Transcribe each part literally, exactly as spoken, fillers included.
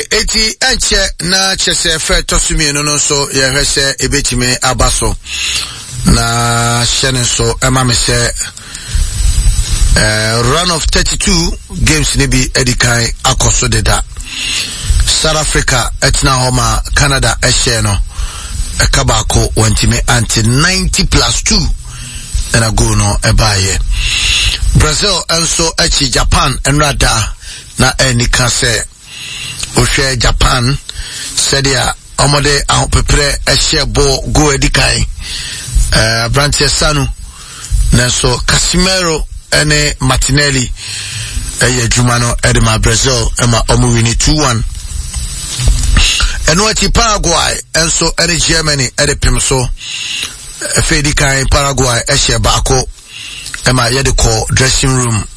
Okay, eti ɛnkyɛ na kyerɛ sɛ fɛ ɛtɔ so mmienu no nso yɛhwɛ sɛ ebetumi aba so na hyɛ ne nso ɛma me sɛ uh, round of thirty-two games ne bi adi kan akɔ so deda. South Africa ɛtena hɔ ma Canada ɛhyɛ no ɛka baako, wɔntumi ante. ninety plus two ɛna goal no ɛbaayɛ. Brazil nso akyi Japan nnrada na ɛni ka sɛ wohwɛ Japan sɛdeɛ ɔmɔde ahopeprɛ ɛhyɛ bɔ goal adi kan, ɛɛ aberanteɛ Sanu, nanso Casemiro ɛne Martinelli ɛyɛ adwuma no ɛde ma Brazil ɛma ɔmo win two one. Ɛno akyi Paraguay nso ɛne Germany ɛde pem so. Ɛfɛ di kan Paraguay ɛhyɛ baako ɛma yɛde kɔ dressing room.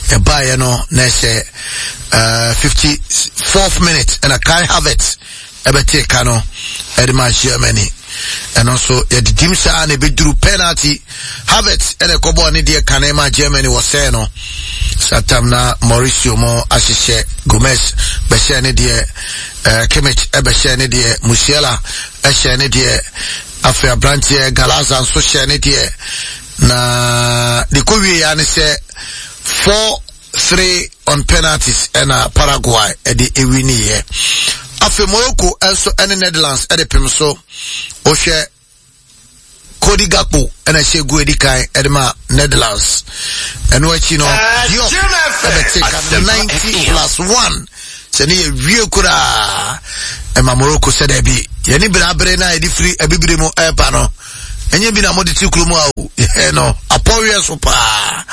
Ɛbaeɛ no na ɛsɛ uh, fifty fourth minute ɛna Kai Havertz ɛbɛte ka no ɛde ma Germany. Ɛno nso yɛde dim saa na ɛbɛduru penalty. Havertz ɛna ɛkɔbɔɔ ne deɛ kane ma Germany wɔ sɛɛ no satam na Mauricio mo ahyehyɛ. Gomez bɛhyɛ ne deɛ, uh, Kimmich ɛbɛhyɛ ne deɛ, Musiala ɛhyɛ ne deɛ, afei aberanteɛ Galaza nso hyɛ ne deɛ na de kɔ wie ya ne sɛ four three on penalties ɛna Paraguay ɛde ewi ne yɛ. Afei Morocco nso ɛne Netherlands ɛde pem so. Wohwɛ Cody Gakpo ɛna ɛhyɛ gu edi kan ɛde ma Netherlands. Ɛno akyi no Diop ɛbɛte ka ninety plus one sɛ ne yɛ wie koraa ɛma Morocco sɛ dɛbi yɛne berabere na yɛde firi abibire mu ɛreba no ɛnyɛ bi na mode te kurom a o yɛ no apɔweɛ so paa.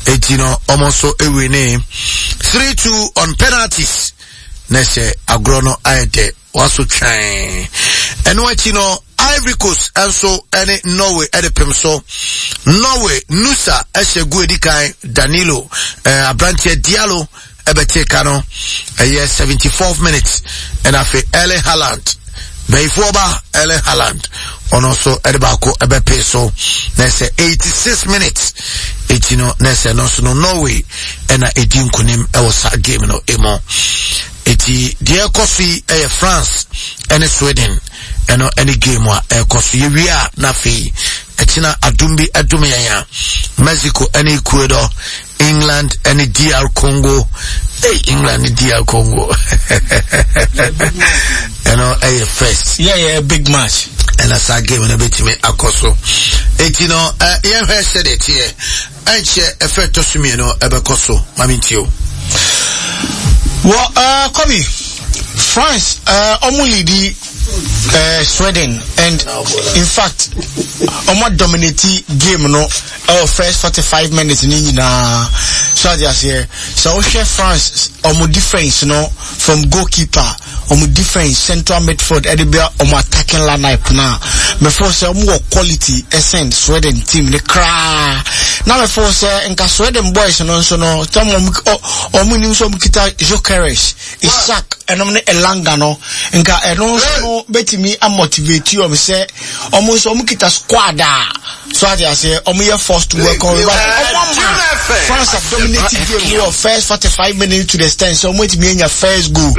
Eti no ɔmo nso ewi ne three two on penalties na sɛ agorɔ no ayɛ dɛ waso twɛn. Ɛno akyi no Ivory Coast nso ɛne Norway ɛde pem so. Norway Nusa ɛhyɛ gu edi kan, Danilo, ɛɛ aberanteɛ Diallo ɛbɛte ka no ɛyɛ seventy fourth minute, ɛna afei Erling Haaland, bɛyifoɔ ba Erling Haaland, ɔno nso ɛde baako ɛbɛpee so na ɛsɛ eighty six minutes. Eti no na ɛsɛ no nso no Norway ɛna edi nkunim ɛwɔ saa game no emu. Eti deɛ ɛkɔ so yi ɛyɛ France ɛne Sweden, ɛno ɛne game a ɛkɔ so. Yɛwie a na afei ɛkyina adum bi ɛdum yɛn a Mexico ɛne Ecuador, England ɛne D R Congo. Hey, England ne D R Congo ɛno ɛyɛ first. yeah yeah big match. Ɛna saa game no bɛtumi akɔ so. Eti no ɛ yɛhwɛ sɛdeɛ teɛ. Ɛnkyɛ ɛfɛ ɛtɔ so mmienu ɛbɛkɔ so. Mami ntie o. Well, uh, Kobe, France, uh, ɔmo lead uh, Sweden and in fact, ɔmo dominate game no ɛwɔ first forty five minutes ne nyinaa. So adi aseɛ sɛ wohwɛ France ɔmo defence no, from goalkeeper, ɔmo defence, central midfield, ɛde bɛ ɔmo attacking lineup na mɛfɔ sɛ ɔmo wɔ quality ɛsɛn Sweden team ne koraa. Na mɛfɔ sɛ nka Sweden boys no nso no tɛm ɔmo ɔmo nim sɛ ɔmo kita Gyokeres, Isak ɛnom ne Elanga no, nka ɛno nso no bɛtumi amotivate ɔmo sɛ ɔmo nso ɔmo kita squad a so ate aseɛ ɔmo yɛ forced to work on, but ɔmo ama France have dominated game no wɔ first forty five minutes to the extent sɛ ɔmo etumi anya first goal,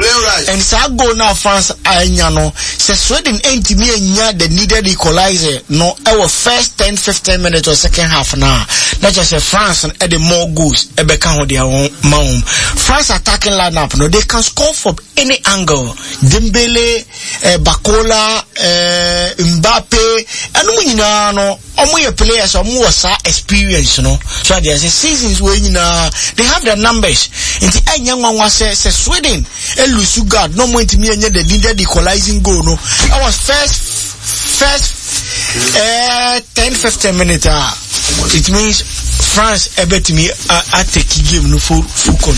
and saa goal na France anya no, sɛ Sweden ɛntumi anya the needed equalizer no ɛwɔ first ten fifteen minutes or second half na na kyerɛ sɛ France ɛde more goals ɛbɛka ho deɛ wɔn ma wɔn. France attacking lineup no, they can score from any angle. Dembele, eh, Barcola, eh, Mbappe, ɛnum nyinaa no ɔmo yɛ players, ɔmo wɔ saa experience no so adeɛ sɛ seasons wɔ nyinaa they have the numbers. Nti ɛnyɛ nwanwa sɛ sɛ Sweden elose guard na ɔmo ntumi ɛnyɛ the needed equalizing goal no ɛwɔ first first ɛɛ ten fifteen minutes a, it means France ɛbɛtumi a atake game no full full control.